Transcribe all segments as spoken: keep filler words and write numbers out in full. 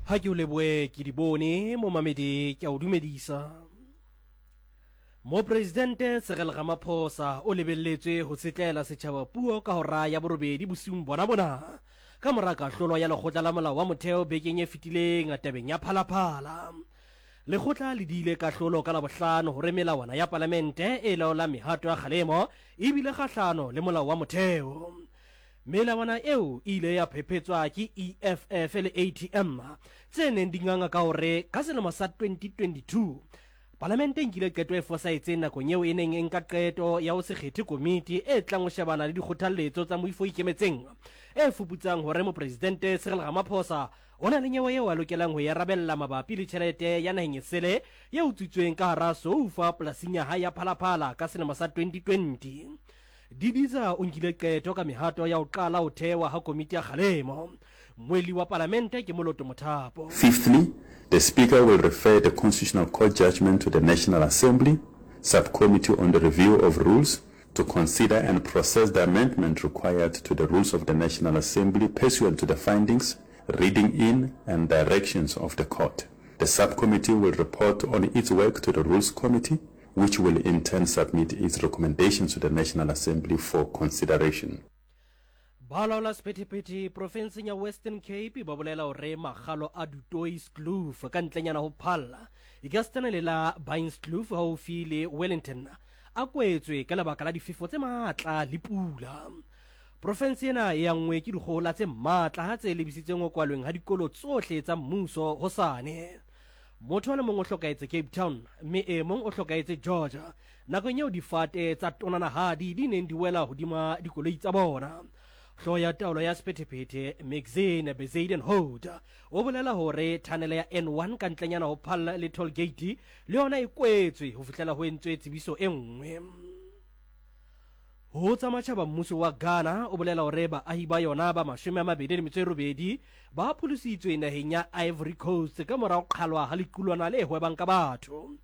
Ha ke o lebohe ke di bone momamedi ke a o dumedisa. Mopresidente Cyril Ramaphosa o lebelletswe ho tsetlela setjhaba puo ka hora ya borobedi bosiung bona bona ka mora kahlolo ya lekgotla la molao wa motheo bekeng e fetileng tabeng ya Phalaphala. Lekgotla le diile kahlolo ka Labohlano hore melawana ya palamente e laolang mehato ya kgalemo e bile kgahlano le molao wa motheo. Melawana eo e ile ya phephetswa ke E F F le A T M tse neng di nganga ka hore ka selemo sa twenty twenty-two palamente e nkile qeto e fosahetseng nakong eo e neng e nka qeto ya ho se kgethe komiti e tlang ho shebana le dikgothalletso tsa moifo o ikemetseng e fuputsang hore mopresidente Cyril Ramaphosa o na le nyewe eo a lokelang ho e arabella mabapi le tjhelete ya naheng esele e utswitsweng ka hara soufa polasing ya hae ya Phalaphala ka selemo sa twenty twenty. Didiza o nkile qeto ka mehato ya ho qala ho thewa ha komiti ya kgalemo. Mmuelli wa palamente ke Moloto Mothapo. Fifthly, the Speaker will refer the Constitutional Court judgment to the National Assembly Subcommittee on the Review of Rules to consider and process the amendment required to the rules of the National Assembly pursuant to the findings, reading in and directions of the court. The subcommittee will report on its work to the Rules Committee, which will in turn submit its recommendations to the National Assembly for consideration. Balaola sephethephethe profenseng ya Western Cape ba bolela hore makgalo a Du Toitskloof ka ntlenyana ho phalla ekasitana le la Bainskloof haufi le Wellington a kwetswe ka lebaka la difefo tse matla le pula. Profense ena e anngwe ke dikgohola tse matla tse lebisitseng ho kwalweng ha dikolo tsohle tsa mmuso hosane. Motho a le mong o hlokahetse Cape Town mme e mong o hlokahetse Georgia nakong eo difate tsa tonanahadi di neng di wela hodima dikoloi tsa bona. Hlooho ya taolo ya sephethephethe Maxine Bezuidenhout o bolela hore thanele ya N one ka ntlenyana ho phalla le toll gate le yona e kwetswe ho fihlela ho entswe tsebiso e nngwe. Ho tsa matjhaba mmuso wa Ghana o bolela hore baahi ba yona ba mashome a mabedi le metso e robedi ba pholositswe naheng ya Ivory Coast ka mora ho qhalwa ha lequlwana le hwebang ka batho.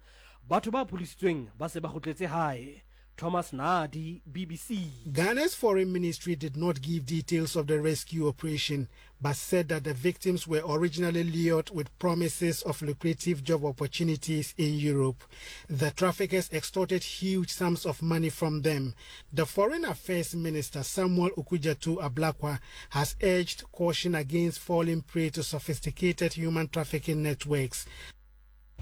Batho ba pholositsweng ba se ba kgutletse hae. Thomas Nadi, B B C. Ghana's foreign ministry did not give details of the rescue operation, but said that the victims were originally lured with promises of lucrative job opportunities in Europe. The traffickers extorted huge sums of money from them. The Foreign Affairs Minister, Samuel Okudzeto Ablakwa, has urged caution against falling prey to sophisticated human trafficking networks.